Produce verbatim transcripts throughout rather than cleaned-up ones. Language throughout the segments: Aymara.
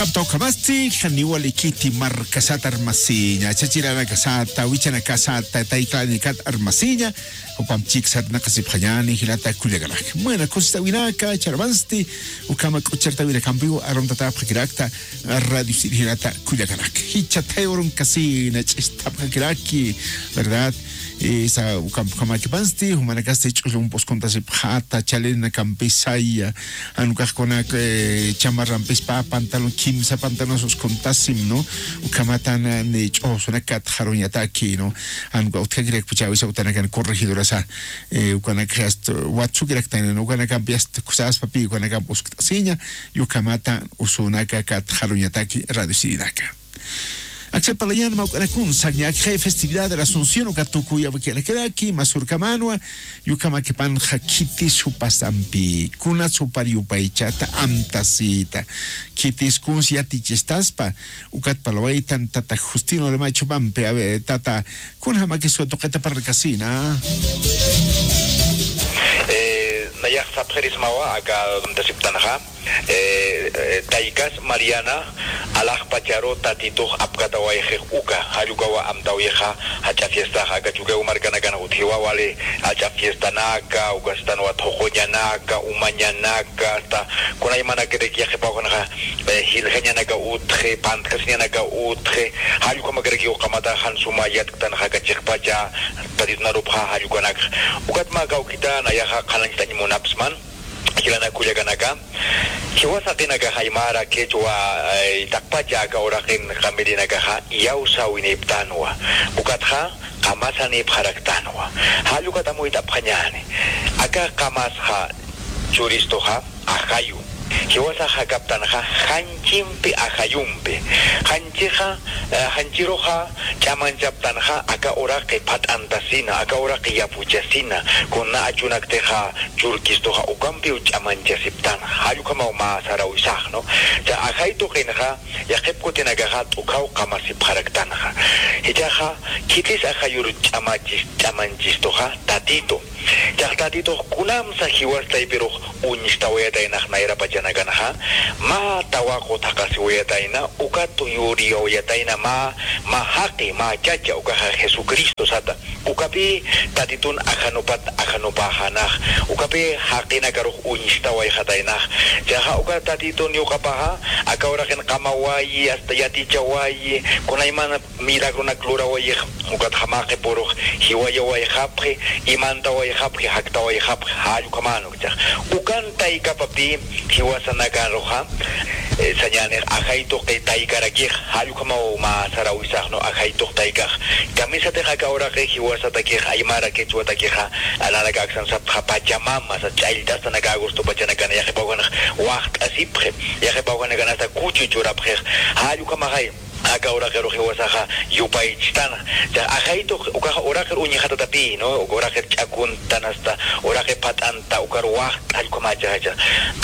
Aptawkamasti, janiwa likiti markasata armasiña, chachiranakasata, wichanakasata, tayklanikat armasiña, jupam chiksat naqasipxañani, jilata kullakanak. Buena, kusistawinaka, charmansti, ukama k'uchartawinakampiw, arontatapxakirakta, radio sirjilata kullakanak. Jichatayaw urunkasin, ch'istapxakiraki, ¿verdad? Esa, ukampjamakipansti, jumanakasti, ch'ullum puskuntasipxata, chalinakampisaya, Jan ukax kunak, eh, chamarrampis pä, pantalon, kimsa pantalon uskuntasim, ¿no? Ukhamatan, eh, ni ch'usunak katxaruñataki, ¿no? Jan uka utjakirakpacha awisa utanakan corregidorasa, eh, ukanak hasta watsukiraktan, ¿no? Ukanakampi hasta kusaspapi, ukanakampi uskt'asiña, y ukhamatan usunaka katxaruñataki radio sirinaka. Aksa palayan mawk'anakun, sañakxay festividad de la Asunción, uka tukuyawakirakiraki, masurkamanwa, Yukhamakipanxa khitis jupasampi, kuna supar yupaychata amtasita. Khitis kuns yatichistaspa, ukat palawaytan tata Justino Lemay chupampi, a ver, tata, kunjamakis tuqita parlkasina. Eh, nayax sapxirismawa, aka amtasiptanxa. Eh, eh, taykas Mariana, alaxpacharu tatitux apkatawayxix uka, jall ukawa amtawixa, jach'a fiestaxa, aka Chukiyawu markanakan utjiwa wali, jach'a fiestanaka, ukastan wathuquñanaka, umañanaka, hasta kunaymanakiraki yaqhipawjanxa, eh, jiljañanaka utji, pantkasiñanaka utji, jall ukamakiraki uqamata jan suma yatktanxa aka chiqpacha, tatitun arupxa jall ukanakxa. Ukatma kawkita nayaxa qhanañchtañ munapsman, jilanak kullakanaka, jiwas jaqinakaxa aymara, quechua, eh, taqpacha aka uraqin qamirinakaxa iyawsäwiniptanwa. Ukatxa qamasanipxaraktanwa. Jall ukat amuyt'apxañäni. Aka qamasxa churistuxa ajayu. Jiwasax jakaptanxa janchimpi ajayumpi. Janchixa, eh, janchiruxa ch'amanchaptanxa aka uraqi phat'antasina, aka uraqi yapuchasina, kuna achunaktixa churkistuxa ukampiw ch'amanchasiptanxa, jall ukhamaw mä sarawisax, ¿no? Cha ajay tuqinxa, yaqhip kutinakaxa t'ukhaw qamasipxaraktanxa. Jichhaxa, khitis ajayur ch'amachis-, ch'amanchistuxa, tatitu. Chax tatitux kunamsa jiwas taypirux uñstawayataynax nayrapachanakanxa, mä tawaqu thaqasiwayatayna, ukat yuriyawayatayna mä, mä jaqi, mä chacha, ukaxa Jesucristo sata. Ukapï tatitun ajanupat ajanupäxänax. Ukapï jaqinakarux uñstawayxataynax. Chaxa uka tatitun yuqapaxa, aka uraqin qamawayi, hasta yatichawayi, kunaymana milagronak lurawayix, ukatxa mä qhipürux jiwayawayxapxi, imantawayxapxi, jaktawayxapxi, jall ukhamanwa. Ukan taykapapï jiwasanakaruxa, eh, sañänix ajay tuqi taykarakix, jall ukhamaw mä sarawisax, ¿no? Ajay tuq taykax. Kamisatix aka uraqi jiwasatakix, aymara quechuatakixa, nanaka aksan sapxta Pachamama, sa ch'allt'astanaka agosto pachanakan, yaqhipawjanx waxt'asipxi, yaqhipawjanakan hasta kuchu churapxix, jall ukhamaxay. Aka uraqirux jiwasaxa yupaychtan. Cha ajay tuq ukax uraqir uñjatatapï, ¿no? Uka uraqir ch'akuntan hasta uraqir phat'anta ukar waxt'allkhumachaxa.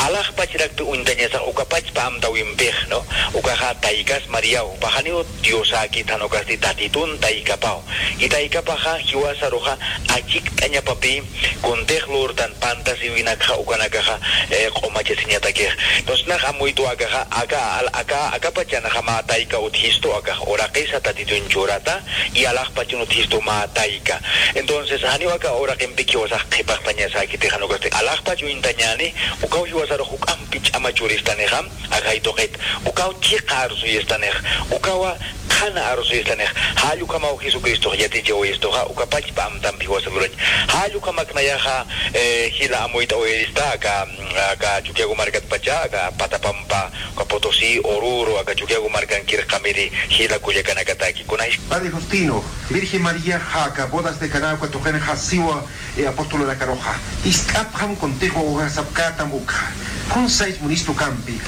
Alaxpachirakpi uñtañasax ukapachpa amtawimpix, ¿no? Ukaxa taykas Mariaw, paxaniw Diosäkit jan ukasti tatitun taykapaw. Y taykapaxa jiwasaruxa achikt'añapapï kuntix lurtan pantasiwinakxa ukanakaxa, eh, q'umachasiñatakix. Entonces, nax amuytwa akaxa, aka, al-, aka, aka pachanxa mä tayka utjistu akax uraqisa tatitun churata, y alaxpachan utjistu mä tayka. Entonces, janiw aka uraqimpi jiwasax qhipaxtañasäkiti jan ukasti alaxpach uñtañäni, ukaw jiwasarux juk'ampi ch'ama churistanixa, ajay tuqit, ukaw chiqa arusuyistanix, ukawa qhana arusuyistanix, jall ukhamaw Jesucristox yatichawayistuxa, ukapachpa amtampi jiwasa lurach. Jall ukhamak nayaxa, eh, jila amuyt'awayarista, aka, aka Chukiyawu markatpacha, aka Patapampa, aka Potosí, Oruro, aka Chukiyawu markankir qamiri, jila kullakanakataki. Kunay. Padre Justino, Virgen María, aka bodas de Caná, aka tuqinxa siwa, eh, apostolunakaruxa. Ist'apxam kuntix wawasapkätam ukxa. Kun sais munistu kampi.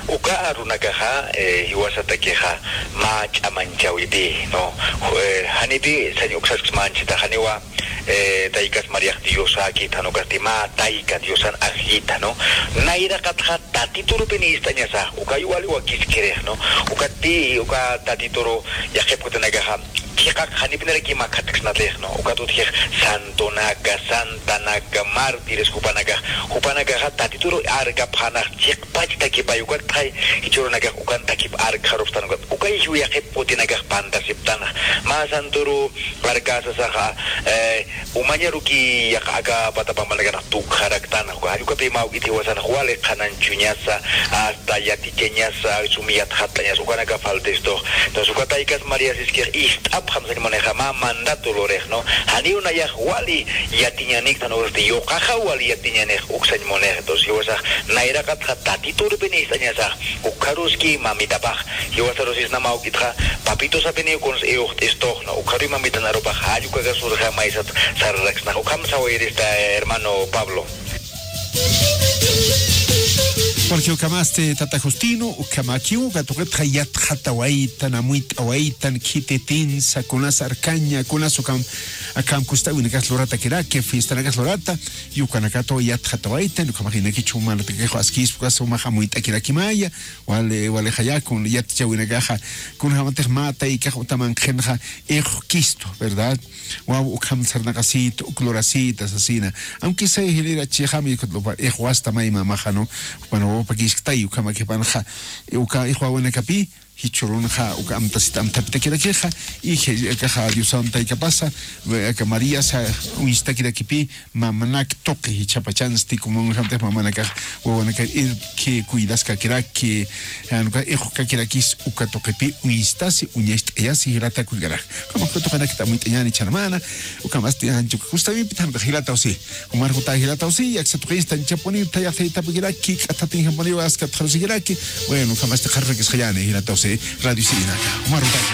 Uka arunakaxa, eh, jiwasatakixa mä ch'amanchäwipï, ¿no? Eh, janipï sañ uksasksa manchita, janiwa, eh, taykas Mariax Diosäkit jan ukasti mä tayka Diosan ajllita, ¿no? Nayraqatxa tatiturupi nist'añasa, ukayu wali wakiskirix, ¿no? Ukatpï, uka tatituru yaqhip kutinakaxa, chiqaq janipinaraki makhatksnatix, ¿no? Ukat utjix santonaka, santanaka, mártires jupanakax, jupanakaxa Tatituru arkapxanax chiqpachtakipay, ukat phay jichhürunakax ukan takip arkxarupxtan, ukat ukay jiw yaqhip qutinakax pantasiptanax. Mä santuru arkasasaxa, eh, umañaruki yaqha aka pata pampanakanax tukxaraktan, uka jall ukapï mä juk'it jiwasanax wali qhanañchuñasa, hasta yatichañasa, sum yatxatañasa, ukanaka faltistux. Entonces, uka taykas María Siskix ist'apxam sañ munixa mä mandato lurix, ¿no? Janiw nayax wali yatiñaniktan, usti yuqaxa wali yatiñanix uk sañ munix. Entonces, jiwasax nayraqatxa Tatiturpin ist'añasax, ukxaruski mamitapax, jiwasarusisna mä juk'itxa, papitosapiniw kuns iwxt'istux, ¿no? Ukxaruy mamitan arupax jall ukakas urxa maysat sararaksnax. Ukham sawayrista, hermano Pablo. Porque ukhamasti tata Justino, ukhamakiw, uka tuqitxa yatxatawaytan, amuyt'awaytan, khititinsa, kunas arkaña, kunas ukham, akham kustäwinakas luratakiraki, fiestanakas lurata, y ukanakatwa yatxatawaytan, ukhamax inaki chumanatakax askispa, ukas umax amuyt'akirakimaya, wali, wali jayakun, yatichäwinakaxa, kunjamatix mä taykax utaman qhinxa, iqkistu, ¿verdad? Waw ukham sarnaqasita, uk lurasita sasina. Aunque sea jilïr achixam, iqwasta may mamaxa, ¿no? Jupan wawapakisktay, ukhamakipanxa, uka iqwawinakapï, jichhürunxa, uka amtasita amthapitakirakixa, y je-, akaxa Diosan taykapasa, aka Mariasa uñstakirakipï, mamanak tuqi jichhapachansti, como uñjamtix mamanakax, wawanakar irki, cuidaskakiraki, jan uka iqkakirakis, uka tuqipï uñstasi, uñacht'ayasi, jilata kullkanak. Ukhamax uka tuqinakta amuyt'añäni chhanamana, ukhamasti anchuka kustawipi thantax jilataw si. Jumar jutay jilataw si, aksa tuqista anchapuniw, thayax thaytapikiraki, k'athatinjapuniw, askatxarusikiraki. Bueno, ukhamasti qharrakisxayäni jilataw si, radio sinaka. Jumar jutay.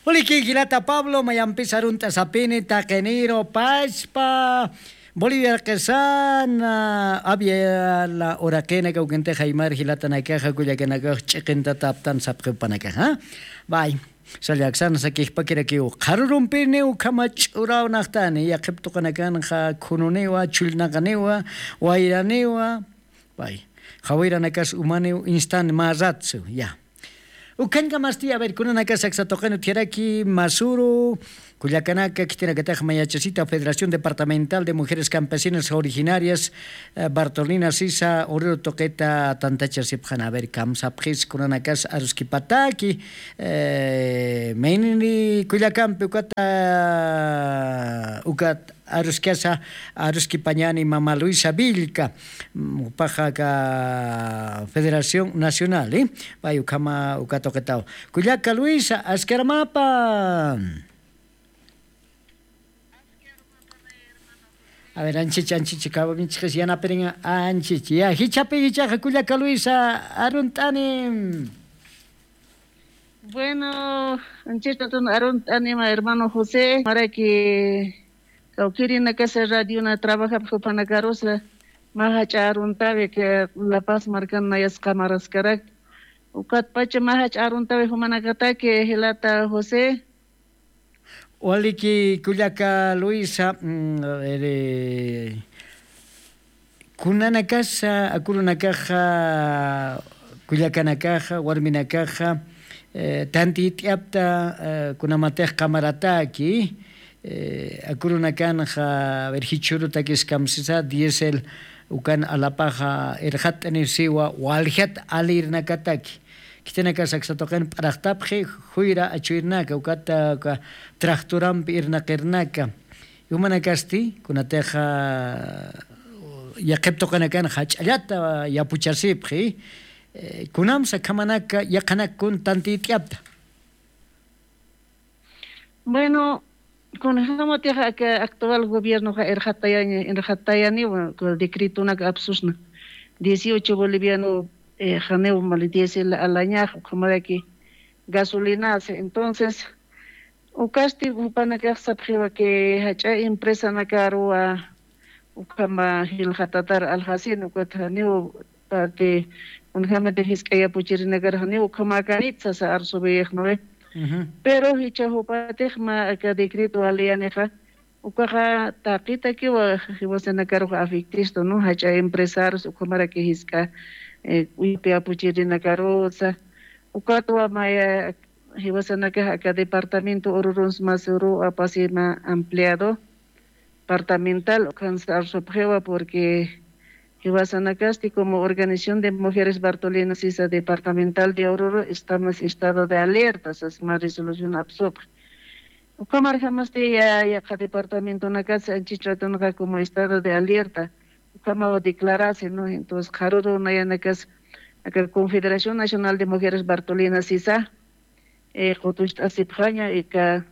Waliki jilata Pablo, mayampis arunt'asapini, taqiniru, pachpa, Bolivia qhisan, ah, Aviala uraqinaka, ukintix aymar jilatanakaxa, kullakanakax ch'iqintataptan sapxi jupanakaxa. Bay. Sallaksan sakixpakirakiw, qharürumpini ukhama ch'uraw naxtani, yaqhip tuqinakanxa khununiwa, chullnaqaniwa, wayraniwa, bay, qhawiranakas umaniw instan mä ratsu, ya. Ukhañkamasti, a ver, kunanakas aksa tuqin utjaraki, masuru, kullakanaka, khitinakatax mayachasita Federación Departamental de Mujeres Campesinas Originarias, eh, Bartolina Sisa, uriru tuqita tantachasipxan, a ver, kamsapxis kunanakas aruskipataki, eh, maynini kullakampi ukata, ukat aruskasa, aruskipañani mama Luisa Villca, mm, jupaxa aka Federación Nacional, eh, pay ukhama uka tuqitaw. Kullaka Luisa, askaramapa. A ver, anchich, anchich, kawamichis yanapirin, anchich. Ya, jichhapi, jichhaxa, kullaka Luisa, arunt'ani. Bueno, anchich tatun arunt'anima, hermano José, maraki kawkïrinakasa radiona trabajapxi jupanakarusa, mä jach'a aruntawi que La Paz markan nayas qamaraskarak. Ukatpacha mä jach'a aruntawi jumanakataki, jilata José. Waliki kullaka Luisa, mm, a ver, eh, kunanakasa, akurunakaxa, kullakanakaxa, warminakaxa, eh, tantiyt'yapta, eh, kunamatix qamarataki, eh, akurunakanxa, a ver, jichhürutakis kamsisa, diésel ukan alapaxa irxatt'anisiwa, waljat alirnakataki. Khitinakas aksa tuqin p'araxtapxi, juyra achuyirnaka, ukata, uka tractorampi irnaqirnaka. Jumanakasti, kunatixa, yaqhip tuqinakan jach'allata yapuchasipxi, eh, kunamsa akhamanaka, yaqhanak kun tantiyt'yapta. Bueno, kunjamatix aka actual gobiernoxa irxatayaña, irxatayaniwa, decretonak apsusna. Dieciocho boliviano, eh, janiw mali diésel alañax, ukhamaraki gasolinasa. Entonces, ukasti jupanakax sapxiwa que jach'a empresanakaruwa, ukhama jilxatatar aljasin, ukat janiw parte, kunjamati jisk'a yapuchirinakar janiw ukhamäkanit sasa arsubiyix, ¿no ve? Ujú. Pero jichha jupatix mä aka decreto waliyanixa, ukaxa taqitakiwa jiwasanakaruxa afectistu, ¿no? Jach'a empresarios, ukhamaraki jisk'a, eh, uyapi yapuchirinakarusa, ukatwa maya jiwasanakax aka departamento ururuns masuru apasima ampliado departamental ukhansa arsupxiwa porque jiwasanakasti como organización de mujeres bartolinas sisa departamental de ururu estamos estado de alerta sasma resolución apsupxi. Ukhamarjamasti ya yaqa departamentonakatsa anchich ratonqa como estado de alerta ukhamaw declarasi no entonces qharuru nayanakas aka confederación nacional de mujeres bartolinas sisa qutucht'asipxaña ika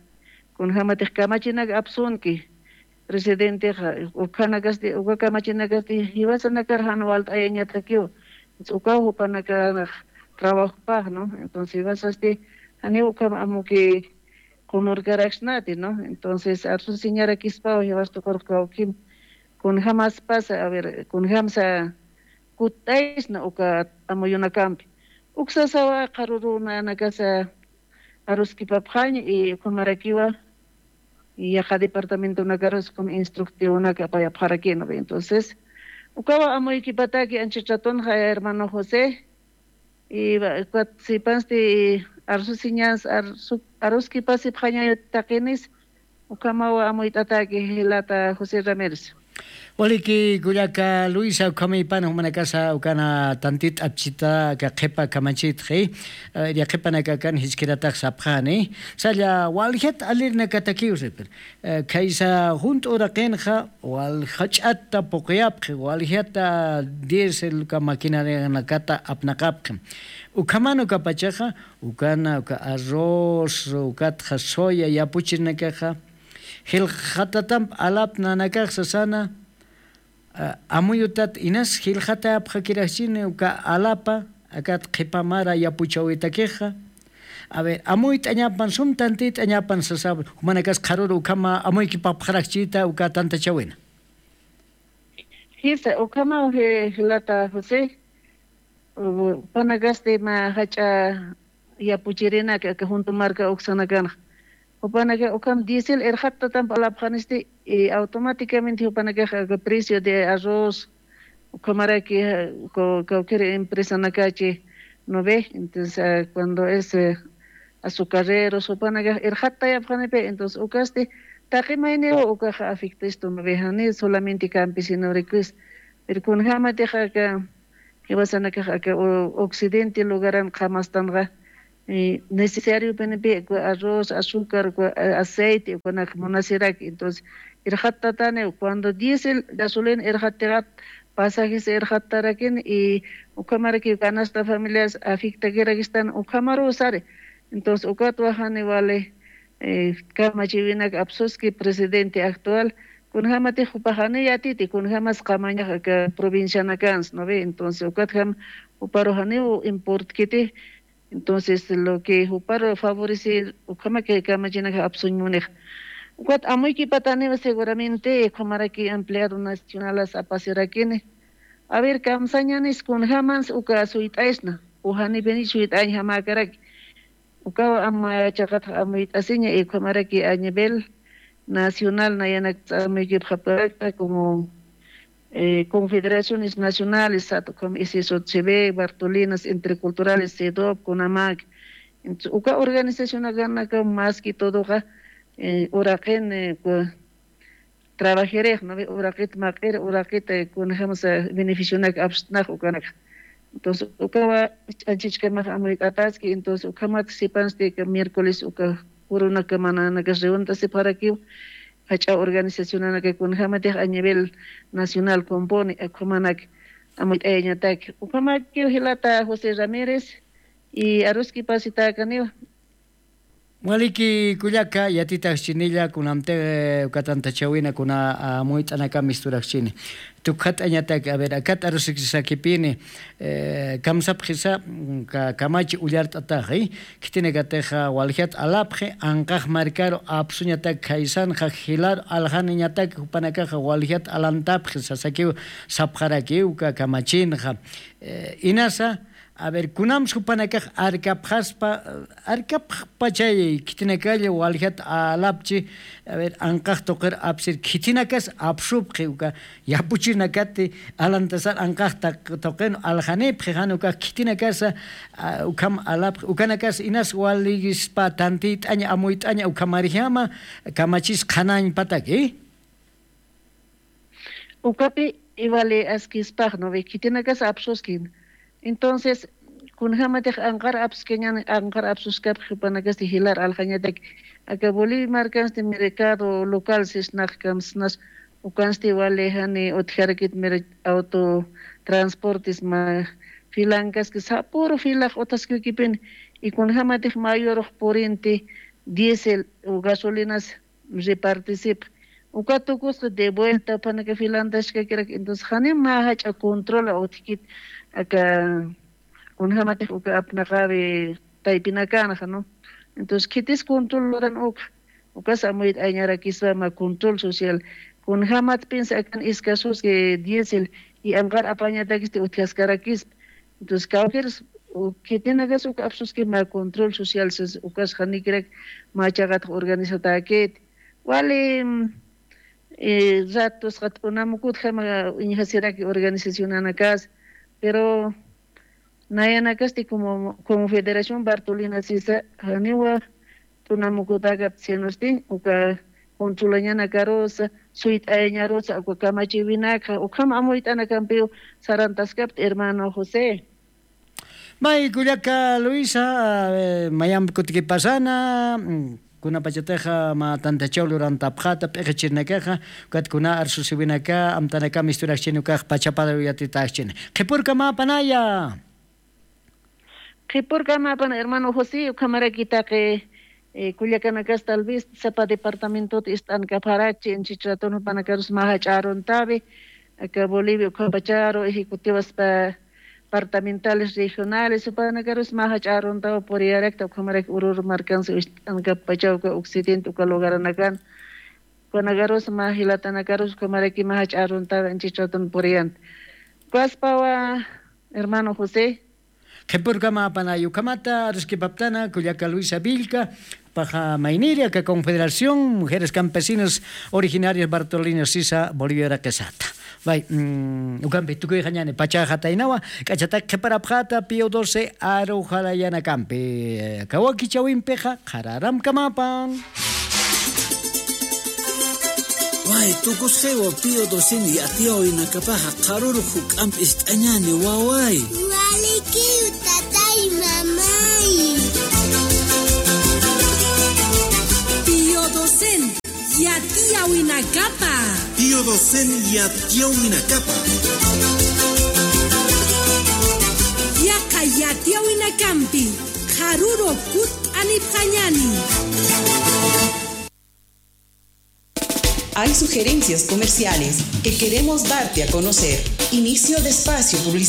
kunjämatix kamachinak apsunki presidentexa ukhanakasti uka kamachinakasti jiwasanakar jan walt'ayañatakiw. Ukaw jupanakanax trabajopax no entonces jiwasasti janiw ukham amuki qunurkaraksnati no entonces arsusiñarakispaw jiwas tuqurux kawkim kunjämaspasa a ver kunjämsa kutt'aysna uka amuyunakampi uksasawa qharuru nanakasa aruskipapxañ y ukhamarakiwa yaqa departamentonakarus como instructivonak apayapxarakina entonces ukawa amuykipataki anchit ratunxa hermano josé y ukat sipansti arsusiñas aruskipasipxaña taqinis ukhamawa amuyt'ataki jilata josé ramírez. Waliki kullaka luisa ukhamay pana jumanakasa ukana tantit t'apchita aka qhipa kamachitxi. Yaqhipanakakan jiskiratax sapxani salla waljat alirinakatakiw sipir khaysa junt'u uraqinxa waljach'ata puquyapxi waljata diesel uka maquinarinakata apnaqapxi. Ukhaman ukapachaxa ukana uka arroz ukatxa soya yapuchirinakaxa jilxatatamp alapnanakax sasana. Amuyutat inas jilxatayapxakirakchini uka alapa akat qhipa mara yapuchawitakixa. A ver amuyt'añapan sum tantit'añapan sasap jumanakas qharuru ukhama amuykipapxarakchita uka tantachawina. Jisa ukhamaw jilata josé jupanakasti mä jach'a yapuchirinak aka juntu marka uksanakanxa. Jupanaka ukham diesel irxattatamp alapxanisti y automáticamente jupanakax aka precio de arroz ukhamaraki kawkir empresanakachi no ve entonces cuando es azucarreros jupanakax irxattayapxanipi entonces ukasti taqi mayniw ukaxa afectistun no ve jani solamente campesinurikis. Pero kunjämatix aka jiwasanakax aka occidente lugaran qhamastanxa necesariopinipi arroz azúcar aceite ukanak munasiraki entonces irxattataniw cuando diesel gasolina irxattixat pasajes irxattarakin y ukhamaraki canasta familias afectakirakistan ukhamaruw sari. Entonces ukatwa jani wali kamachiwinak apsuski presidente actual kunjämatix jupax jani yatiti kunjämas qamañax aka provincianakans no ve entonces ukatjam juparu janiw importkiti. Entonces lo que juparu favorecer ukhamak kamachinakax apsuñ munix. Ukat amuykipataniw seguramente ukhamaraki empleado nacionalas apasirakini. A ver kamsañanis kunjämans uka suyt'aysna o janipinich suyt'añjamäkaraki. Ukaw ama chaqatax amuyt'asiña y ukhamaraki a nivel nacional nayanakta amuykipxapkarakta como confederaciones nacionales sat ukham isisot chive bartolinas interculturales sidop kunamak. Entonces uka organizacionakanaka mas que todoxa uraqin trabajirix no ve uraqit maq'ir uraqit kunajamasa beneficionak apstnax ukanaka. Entonces ukawa ch'anchichkamax amuyt'ataski entonces ukhamat sipansti miércoles uka jurunakamananakas reuntasipxarakiw jach'a organizacionanaka kunajamatix a nivel nacional compone ukhamanaka amuyt'ayañataki ukhamakiw jilata josé ramírez y aruskipasitäkaniwa. Waliki kullaka yatitaxchinilla kunamtix ukatantachawina kuna amuyt'anakam isturaxchini tukxat'añatak a ver akat arusiksakipini kamsapxisa kamachi ullart'ataxi. Khitinakatixa waljat alapxi anqax markaru apsuñatak khaysanxa jilar aljaniñatak jupanakaxa waljat alantapxi sasakiw sapxarakiw uka kamachinxa inasa A ver, kunamsa jupanakax arkapxaspa, arkapxpachay khitinakalla waljat alapchi, a ver, anqax tuqir apsir khitinakas apsupxi uka yapuchinakati alantasar anqax taq-, tuqin aljanipxi jan ukax khitinakasa, a, ukham alapxi, ukanakas inas waligispa tantiyt'aña, amuyt'aña, ukhamarjama kamachis qhanañpataki. Ukapi iwali askispax, ¿no ve? Khitinakas apsuskin. Entonces, kunjamatix anqar apskañan, anqar apsuskapxi jupanakasti jilar aljañatak. Aka Bolivia markansti mercado local sisnaqkamsnas, ukansti wali jani utjarakit mer-, auto transportes ma filankaski, sapüru filax utjaskikipin, y kunjamatix mayorux purinti diésel o gasolinas repartisip. Uka tukusqa de vuelta jupanaka filantashkakirak, entonces, jani mä jach'a control utjkit, aka, kunjamatix uka apnaqawi taypinakanxa, ¿no? Entonces, khitis control luran uka, ukas amuyt'añarakispa mä control social. Kunjamatpinsa akan escasos que diésel y anqar apañatakisti utjaskarakispa. Entonces, kawkïrs, u-, khitinakas uka apsuski mä control social, sis ukas janikirak mä chaqataq organizatäkit. Wali, mm, eh, ratos qat unamukut jama iñjasiraki organizacionanakas, pero nayanakasti como, como Federación Bartolina sisa, janiwa tunamukutakap sinusti, uka controlañanakarusa, suyt'ayañarusa, uka kamachiwinaka, ukham amuyt'anakampiw sarantaskapti, hermano José. May kullaka Luisa, eh, mayampi kutikipasana, mm, kunapachatixa mä tantachaw lurantapxata, p'iqichirnakaxa, ukat kuna arsusiwinaka, amtanakam isturakchini ukax pachapar yatitäkchini. Qhipurkamäpanaya. Qhipurkamäpan, hermano José, ukhamaraki taqi, eh, kullakanakas tal vez sapa departamentot ist'ankapxarakchi, inchich ratun jupanakarus mä jach'a aruntawi, aka Bolivia ukhapacharu, ejecutivas pa-, departamentales, regionales, jupanakarus mä jach'a aruntaw puriyarakta, ukhamaraki Oruro markansa ist'ankappachaw uka occidente uka lugaranakan, ukanakarus mä jilatanakarus ukhamaraki mä jach'a aruntaw inchich ratun puriyanta. Ukaspawa, hermano José. Qhipurkamäpanay, ukhamata arskipaptana kullaka Luisa Villka, paxa mayniri aka Confederación Mujeres Campesinas Originarias Bartolina sisa Bolivia raqisata. Bay, mm, ukampi tukuyxañani pachaxataynawa, k'achatak qhiparapxata Pío doce aruxalayanakampi, kawakichawimpixa qhararamkamäpan. Way, tukusxiwa Pío docen yatiyawinakapaxa qharuru juk'amp ist'añani, waway. Walikiw, tatay, mamay. Pío docen yatiyawinakapa. Pío docen yatiyawinakapa. Yaqha yatiyawinakampi qharuru kutt'anipxañani. Hay sugerencias comerciales que queremos darte a conocer. Inicio de espacio publicitario.